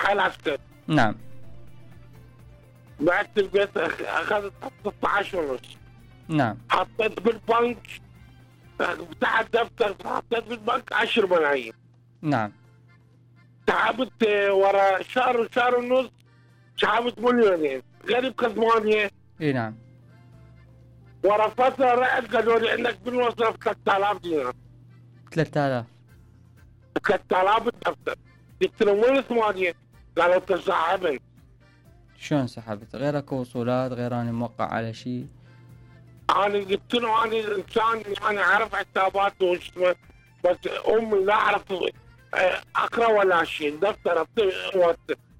حال عسكري. نعم. بعت البيت اخذت 16 ونص. نعم. حطيت بالبنك، فتحت دفتر حطيت بالبنك 10 ملايين. نعم. سحبت ورا شهر ونص سحبت مليونين غير بكزمانية. اي نعم. ورا فترة رحت قالوا لي انك بالمصرف 3000 دينار. 3000 الدفتر. قلت لهم وين 8؟ قالوا تسحبن. شلون سحبت؟ غير اكو وصولات، غير اني موقع على شيء. انا قلت له انا انسان يعني اعرف حسابات واسمه، بس امي لا اعرف اقرا ولا شيء. دفتر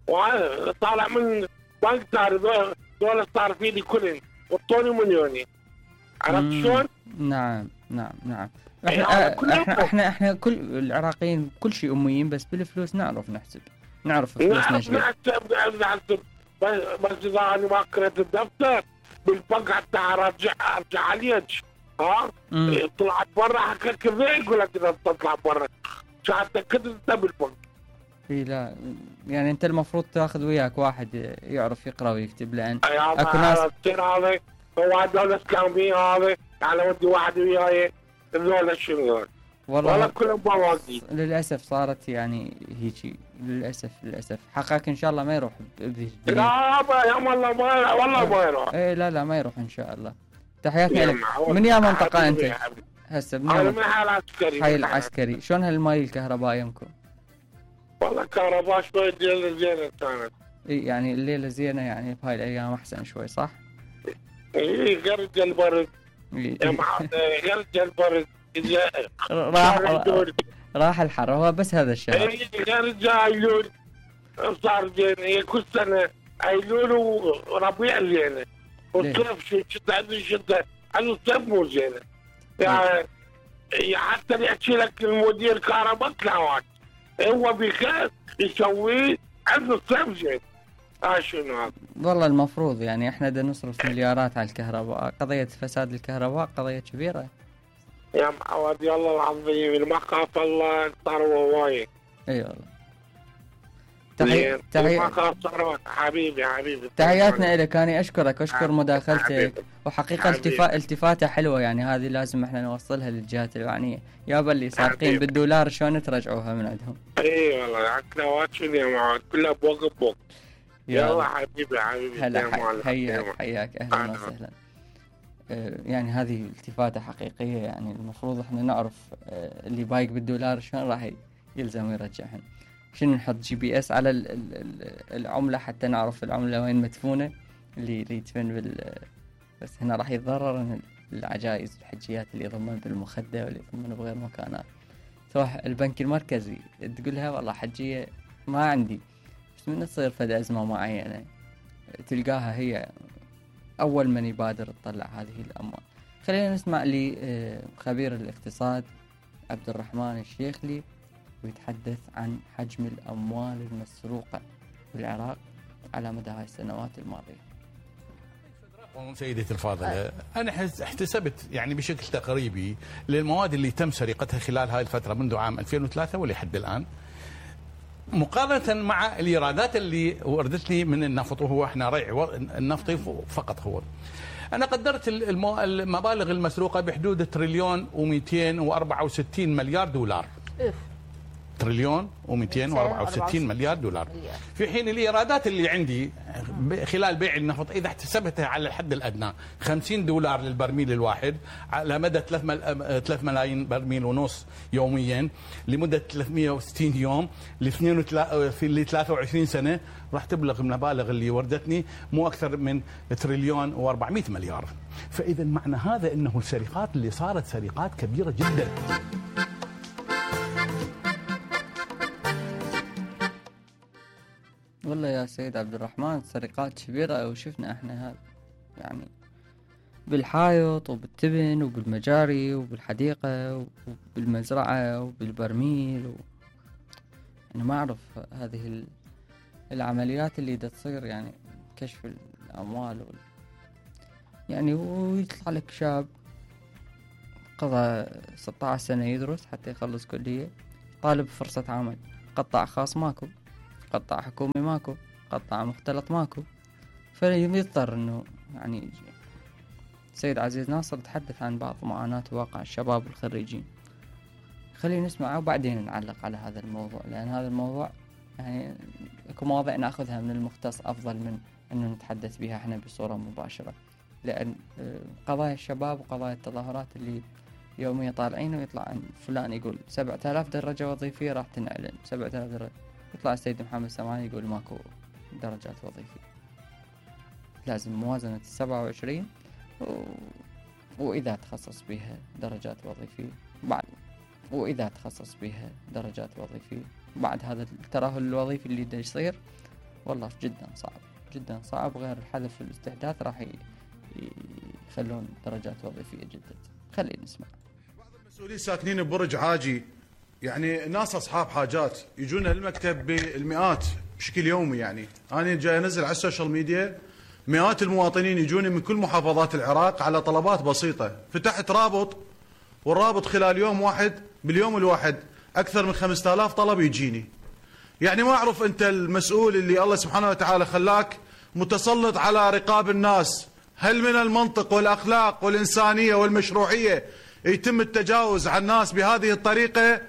وانا طالع من بنك صار دول صار فيني كلن وطوني مليونين. عرفت شلون؟ نعم نعم نعم. احنا كل العراقيين كل شيء اميين، بس بالفلوس نعرف نحسب، نعرف فلوسنا شو. نحسب بس اذا انا ما قريت الدفتر بالبنك حتى ارجع عليك. طلعت برا حكيت كذا يقول لك اذا تطلع برا حتى كنت انت بالبنك. اي لا يعني انت المفروض تاخذ وياك واحد يعرف يقرا ويكتب، لان اكو ناس هذا هو دولة اسلامية هذا على ودي واحد وياي ذولا شنو والله كلهم بواقي. للاسف صارت يعني هيجي، للاسف حقك ان شاء الله ما يروح بهذه الدنيا. لا يا والله ما يروح. ايه لا ما يروح ان شاء الله. تحياتنا لك. من يا منطقة انت؟ هسه انا من حي العسكري. حي العسكري. شلون هالماي الكهرباء يمكم؟ والله كهرباء شوي زينة كانت. اي يعني الليلة زينة، يعني بهاي الايام احسن شوي صح؟ اي غرج البرد يا معلم، غرج البرد راح الحر، هو بس هذا الشهر. اي غرج ايلول صار زين. هي كل سنة ايلول وربيع زينة، والصيف شتاء عنده الصيف مو زينة. يعني حتى يحكي لك المدير كهرباء تلاوات هو بخير يسويه عنده الصيف زين. شنو هذا؟ والله المفروض يعني احنا بدنا نصرف مليارات على الكهرباء. قضية فساد الكهرباء قضية كبيرة يا معود. الله العظيم اللي ما خاف الله صار وايد. اي والله. ما خاف صار. حبيبي تحياتنا لك. أنا أشكر مداخلتك، وحقيقة التفاتة حلوة يعني، هذه لازم احنا نوصلها للجهات الوعنية. يابا اللي سارقين بالدولار شلون ترجعوها من عندهم؟ اي والله عكلاوات شنو يا معود كلها بوق. يلا حبيبي هلا حياك اهلا وسهلا. يعني هذه التفاتة حقيقية، يعني المفروض احنا نعرف اللي بايق بالدولار شلون راح يلزم يرجعهن. شنو نحط GPS على العملة حتى نعرف العملة وين مدفونة، اللي يدفن بس هنا راح يتضرر العجائز الحجيات اللي يضمن بالمخدة واللي يضمن بغير مكانات. تروح البنك المركزي تقولها والله حجية ما عندي، بس من تصير فد أزمة معينة تلقاها هي أول من يبادر تطلع هذه الأموال. خلينا نسمع لي خبير الاقتصاد عبد الرحمن الشيخلي ويتحدث عن حجم الأموال المسروقة بالعراق على مدى هاي السنوات الماضية. سيدتي الفاضلة، أنا احتسبت يعني بشكل تقريبي للمواد اللي تم سرقتها خلال هاي الفترة منذ عام 2003 ولحد الآن، مقارنة مع الإيرادات اللي وردت لي من النفط، وهو احنا ريع النفطي فقط. هو أنا قدرت المبالغ المسروقة بحدود تريليون و264 مليار دولار. تريليون و264 مليار دولار، في حين الإيرادات اللي عندي خلال بيع النفط إذا احتسبتها على الحد الأدنى 50 دولار للبرميل الواحد على مدى 3 ملايين برميل ونص يوميا لمدة 360 يوم ل 23 سنة، راح تبلغ المبالغ اللي وردتني مو أكثر من تريليون و400 مليار. فإذا معنى هذا أنه السرقات اللي صارت سرقات كبيرة جدا. والله يا سيد عبد الرحمن سرقات كبيرة، وشفنا احنا هذا يعني بالحائط وبالتبن وبالمجاري وبالحديقة وبالمزرعة وبالبرميل أنا ما أعرف هذه العمليات اللي دا تصير، يعني كشف الأموال يعني. ويطلع لك شاب قضى 16 سنة يدرس حتى يخلص كلية، طالب فرصة عمل، قطاع خاص ماكو، قطاع حكومي ماكو، قطاع مختلط ماكو، فيضطر انه يعني السيد عزيز ناصر تحدث عن بعض معاناة واقع الشباب الخريجين. خلينا نسمعه وبعدين نعلق على هذا الموضوع، لأن هذا الموضوع يعني اكو مواضيع ناخذها من المختص افضل من انه نتحدث بها احنا بصورة مباشرة، لأن قضايا الشباب وقضايا التظاهرات اللي يوميا طالعين ويطلع عن فلان يقول 7000 درجة وظيفية راح تنعلن، 7000 درجة، يطلع السيد محمد سمعان يقول ماكو درجات وظيفية. لازم موازنة 27 وإذا تخصص بها درجات وظيفية وإذا تخصص بها درجات وظيفية بعد هذا الترهل الوظيفي اللي دا يصير والله جدا صعب. غير الحذف والاستحداث راح يخلون درجات وظيفية جدا. خلينا نسمع. بعض المسؤولين ساكنين ببرج عاجي، يعني ناس أصحاب حاجات يجون المكتب بالمئات بشكل يومي. يعني أنا جاي أنزل على السوشيال ميديا مئات المواطنين يجوني من كل محافظات العراق على طلبات بسيطة. فتحت رابط، والرابط خلال يوم واحد باليوم الواحد أكثر من 5000 طلب يجيني. يعني ما أعرف أنت المسؤول اللي الله سبحانه وتعالى خلاك متسلط على رقاب الناس، هل من المنطق والأخلاق والإنسانية والمشروعية يتم التجاوز على الناس بهذه الطريقة؟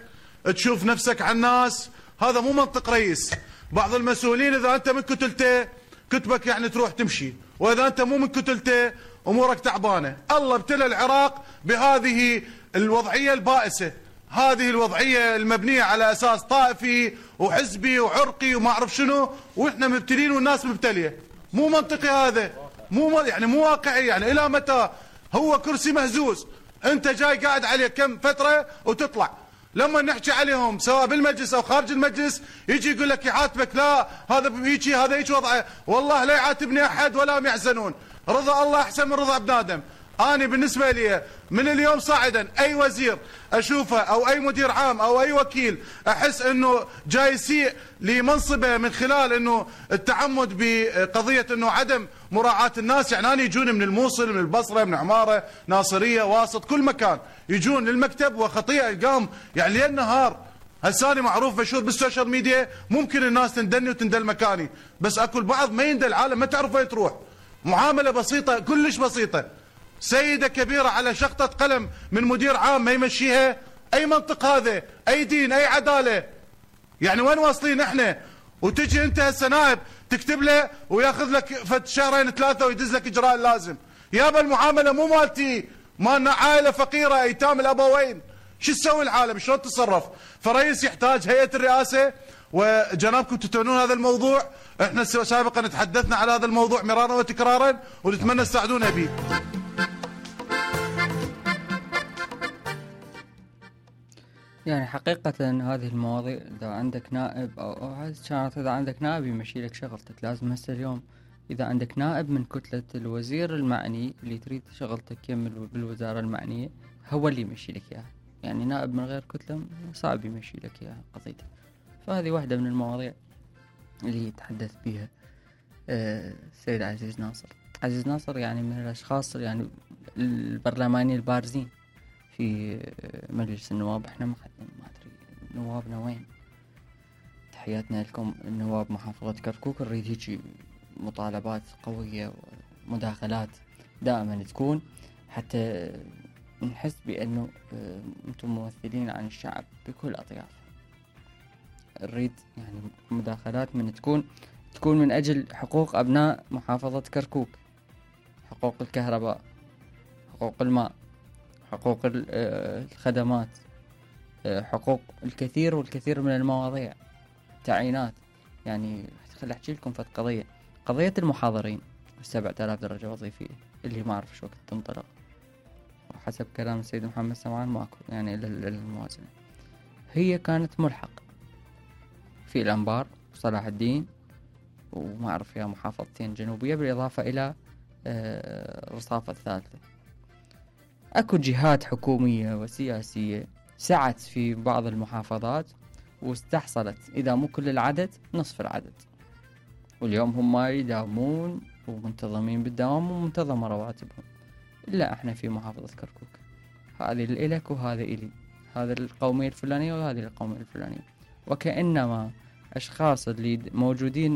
تشوف نفسك على الناس، هذا مو منطق رئيس. بعض المسؤولين إذا أنت من كتلته كتبك يعني تروح تمشي، وإذا أنت مو من كتلته أمورك تعبانة. الله ابتلى العراق بهذه الوضعية البائسة، هذه الوضعية المبنية على أساس طائفي وحزبي وعرقي وما أعرف شنو، وإحنا مبتلين والناس مبتلية. مو منطقي هذا، مو واقعي. يعني إلى متى؟ هو كرسي مهزوز، أنت جاي قاعد عليه كم فترة وتطلع. لما نحكي عليهم سواء بالمجلس أو خارج المجلس يجي يقول لك يعاتبك، لا هذا هيجي، هذا هيك وضعه. والله لا يعاتبني أحد ولا هم يحزنون، رضا الله أحسن من رضا ابن آدم. أنا بالنسبة لي من اليوم صاعدا أي وزير أشوفه أو أي مدير عام أو أي وكيل أحس أنه جاي يسيء لمنصبه من خلال أنه التعمد بقضية أنه عدم مراعاة الناس. يعني أنا يجون من الموصل، من البصرة، من عمارة، ناصرية، واسط، كل مكان يجون للمكتب وخطيئة القام يعني ليل نهار. هساني معروف مشهور بالسوشيال ميديا، ممكن الناس تندني وتندل مكاني، بس أكو البعض ما يندل، العالم ما تعرف وين تروح. معاملة بسيطة، كلش بسيطة، سيدة كبيرة على شخطة قلم من مدير عام ما يمشيها. أي منطق هذا؟ أي دين؟ أي عدالة؟ يعني وين واصلين احنا؟ وتجي انت هسه نائب تكتب له وياخذ لك فد شهرين ثلاثة ويدز لك إجراء اللازم. يابا المعاملة مو مالتي، مالنا عائلة فقيرة أيتام الأبوين. شو تسوي العالم؟ شلون تتصرف؟ فرئيس يحتاج هيئة الرئاسة، وجنابكم تتونون هذا الموضوع. احنا سابقا تحدثنا على هذا الموضوع مرارا وتكرارا ونتمنى تساعدونا به. يعني حقيقة هذه المواضيع إذا عندك نائب أو كانت إذا عندك نائب يمشي لك شغلتك. لازم هسه اليوم إذا عندك نائب من كتلة الوزير المعني اللي تريد شغلتك يكمل بالوزارة المعنية هو اللي يمشي لك إياها. يعني نائب من غير كتلة صعب يمشي لك إياها قضيتك. فهذه واحدة من المواضيع اللي يتحدث بها السيد عزيز ناصر. عزيز ناصر يعني من الأشخاص يعني البرلمانيين البارزين في مجلس النواب. احنا ما ادري نوابنا وين. تحياتنا لكم النواب محافظة كركوك. نريد هيجي مطالبات قوية ومداخلات دائما تكون حتى نحس بأنه انتم ممثلين عن الشعب بكل أطياف. نريد يعني مداخلات من تكون من أجل حقوق أبناء محافظة كركوك، حقوق الكهرباء، حقوق الماء، حقوق الخدمات، حقوق الكثير والكثير من المواضيع، تعيينات. يعني خلي أحكي لكم في قضية المحاضرين 7000 درجة وظيفية اللي ما أعرف شو وقت تنطلق، وحسب كلام السيد محمد سمعان ماكو يعني الموازنة. هي كانت ملحق في الأنبار وصلاح الدين وما أعرف فيها محافظتين جنوبية بالإضافة إلى رصافة الثالثة. أكو جهات حكومية وسياسية سعت في بعض المحافظات واستحصلت إذا مو كل العدد نصف العدد، واليوم هم يداومون ومنتظمين بالدوام ومنتظمة رواتبهم. إلا إحنا في محافظة كركوك هذه الإلك وهذا إلي، هذا القومية الفلانية وهذه القومية الفلانية، وكأنما الاشخاص اللي موجودين